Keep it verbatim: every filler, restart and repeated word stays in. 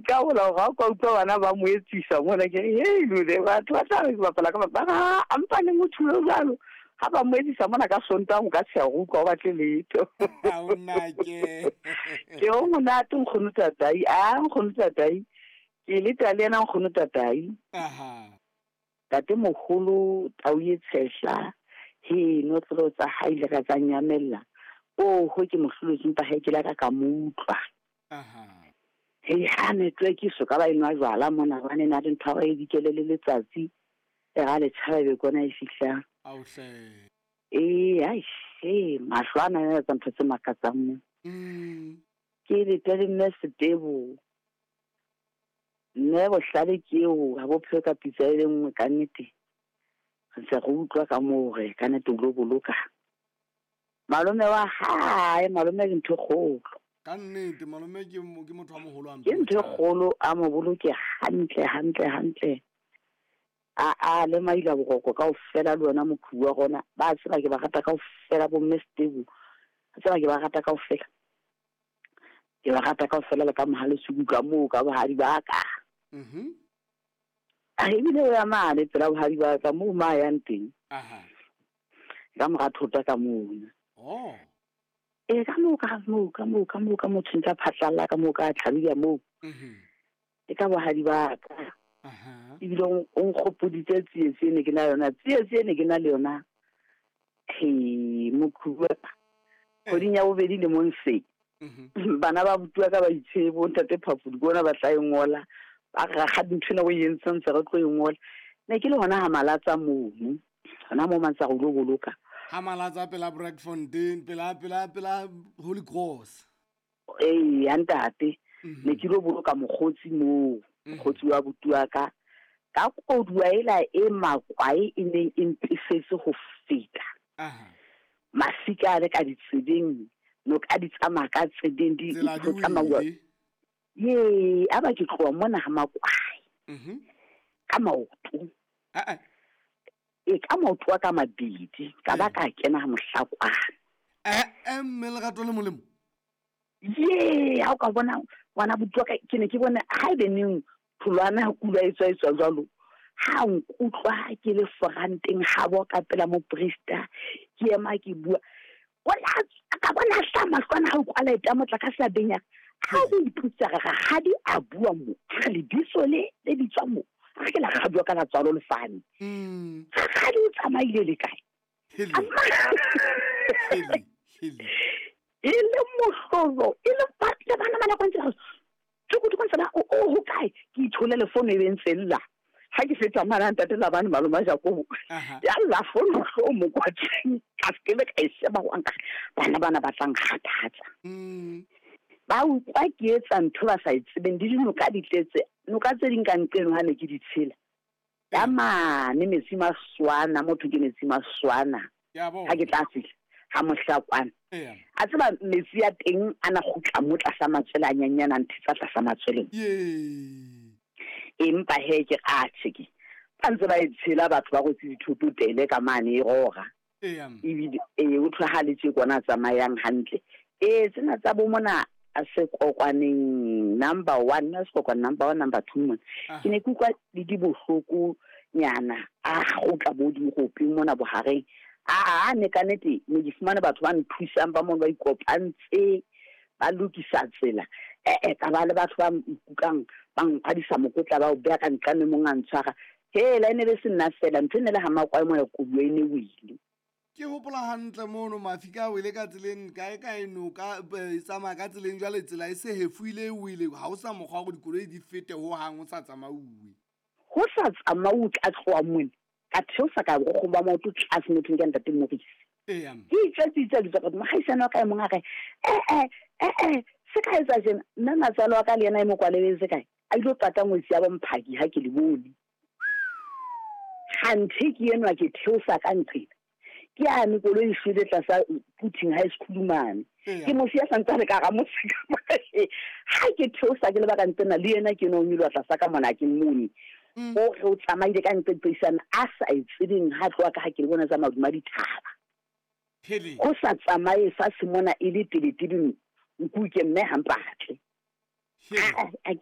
nkabola gore ga o ka utlwa bana ba mo etsisa mona ke re hei lole batho ba tla re ke bapala ka ba a mpane motho yo jalo ga ba mo etsisa mona ka Sontaga o ka tsheya go utlwa o batle letho. Ha o nake. Ke o monate nkgono tatai, a nkgono tatai ke leta le ena nkgono tatai. Aha. Tate mogolo tau e tshehla he notlolo tsa hae le ka tsa nyamella o ho ke mohlolotse mpa hae ke la ka ka mo utlwa. Aha. He ha network e so ka ba enwa jwala mona ba ne na le ntho ya e dikele le letsatsi e ga le tshaba be kona e fihlang. Auhle. Ee, ai she mahlo ana a etsa ntho tse makatsang mo. Mm. Ke le tele mme Setebo. Mme bohlale ke eo ha bo pheo ka pitsa e le nngwe ka nnete. Re ntse re utlwa ka moo hore ka nnete o lo boloka. Malome wa hae, malome ke ntho e kgolo. Ka nnete malome ke ke motho wa moholo a Ke ntho e kgolo a mo boloke hantle hantle hantle. A a le maila boroko kaofela le wena mokhubu wa rona ba tseba ke ba rata kaofela bo mme Setebo. Ba tseba ke ba rata kaofela. Ke ba rata kaofela le ka mohale suku ka moo ka bohadi ba ka. Mhm. A ebile o ya mane pela bohadi ba ka moo ma yang teng. Aha. Ka mora thota ka mona. Oh. E ka moo ka moo ka moo ka moo ka motho ntsa phatlalla ka moo ka tlhabile moo. Mhm. E ka bohadi ba ka. Aha. Ebile o nkgopoditse tsietsi e ne ke na yona, tsietsi e ne ke na le yona. He mokhubu wa ka. Kgweding ya bobedi lemong se. Mhm. Bana ba butua ka ba itshebo ntate Phafudi bona ba tla e ngola. Ba re rakgadi ntho ena o e entseng ntse re tlo e ngola. Ne ke le hona ha Malatsa mono. Hona moo mantsa re lo boloka. Ha Malatsa pela Brakfontein, pela pela pela Holy Cross. Ee, ya ntate. Mhm. Ne ke lo boloka mokgotsi moo. Mhm. Mokgotsi wa butua ka. Ka koduwa ela e makwae e neng e mpefetse ho feta. Aha. Masika a le ka ditsebeng, noka di tsamaya ka tsebeng di Tsela di di tsamauwa. wele. Ye, a ba ke tloha mona ha makwae. Mhm. Ka maoto. Ah ah. E ka maoto a ka mabedi, ka ba Eh. ka kena ha Mohlakwana. Eh, eh, mme lerato le molemo. Ye, ha o ka bona ngwana butua ka ke ne ke bone ha ebe neng tholwana ha kula e tswa e tswa jwalo. Ha nkutlwa ke le foranteng ha bo ka pela moprista, ke ema ke bua. Ona ka bona hla mahlwana ha o kwala e tamotla ka sa benya. Ha o iputsa re rakgadi a bua mo. Re lebitso le le bitswa mo. Re ke la rakgadi wa ka la tswalo lefane. Mm. Rakgadi o tsamaile le kae? Hele. Hele, hele. E le mohlolo, e le batle bana bana kwa ntle. Tsukutu kwa ntsana o o ho kae? Ke ithole le fono e be ntse lla. Ha ke feta mana ntate la bana maloma Jakobo. Aha. Ya lla fono hlo mo kwa teng. Ka se ke ka e sheba ho nka bana bana ba tlang kgathatsa. Mm. Ba utlwa ke etsa ntho ba sa e tsebeng, di dinoka di tletse. Noka tse ding ka nqeno ha ne ke di tshela. Ya mane metsi maswana, motho ke metsi maswana. Ya bona. Ha ke tla fihla ha Mohlakwana. Eya. A tseba metsi ya teng a na kgutla mo tlasa matswele a nyenyana ntho tsa tlasa matswele. Ye. Empa he ke a tjhe ke. Ba ntse ba e tshela batho ba rwetse dithoto tele ka mane e rora. Eya. Ebile e o thwe ha le tje kwana tsamayang hantle. E tsena tsa bo mona a sekokwaneng number one, na sekokwane number one, number two mona. Aha. Ke ne ke utlwa le di bohloko nyana a kgutla bo dirope mona bohareng. A a ne ka nnete ne ke fumane batho ba nthusang ba mono ba ikopantse ba lokisa tsela. Eh, eh, ka ba le batho ba nkukang ba nkhadisa mokotla ba o beha ka nqane mong a ntshwara. Hela e ne be se nna fela ntho e ne le ha makwae mona koduwa e ne wele. Ke hopola hantle mono mafika a wele ka tseleng kae kae noka e tsamaya ka tseleng jwale tsela e se hefuile e wele ha o sa mokgwa wa hore dikoloi di fete hohang ho sa tsamauwe. Ho sa tsamauwe ka tloha mona ka theosa ka borokgo ba maoto tlase mothong ke ntate Morisi. Eya. Ke itjwetse itse le tswa mohaisane wa ka e mong a re, eh, eh, eh, eh, se ka etsa tjena nna matswalo wa ka le yena e mo kwalebeng se kae a ilo pata ngwetsi ya bomphaki ha ke le bone. Hanthe ke enwa ke theosa ka nqena. Ke yane koloi e shwele tlasa Puting High School mane. Eya. Ke mo siya santse le ka ga mosika. Ha ke theosa ke le ba ka ntsena le yena ke no nyoloha tlasa ka mona ke mmone. Mm. O re o tsamaile ka ntse tseisana a sa e tsebeng ha tloha ka ha ke le bona tsa maduma dithaba. Hele. Ho sa tsamaye fatshe mona e le teletele nku ke mme ha mpatle. Hele. A, a,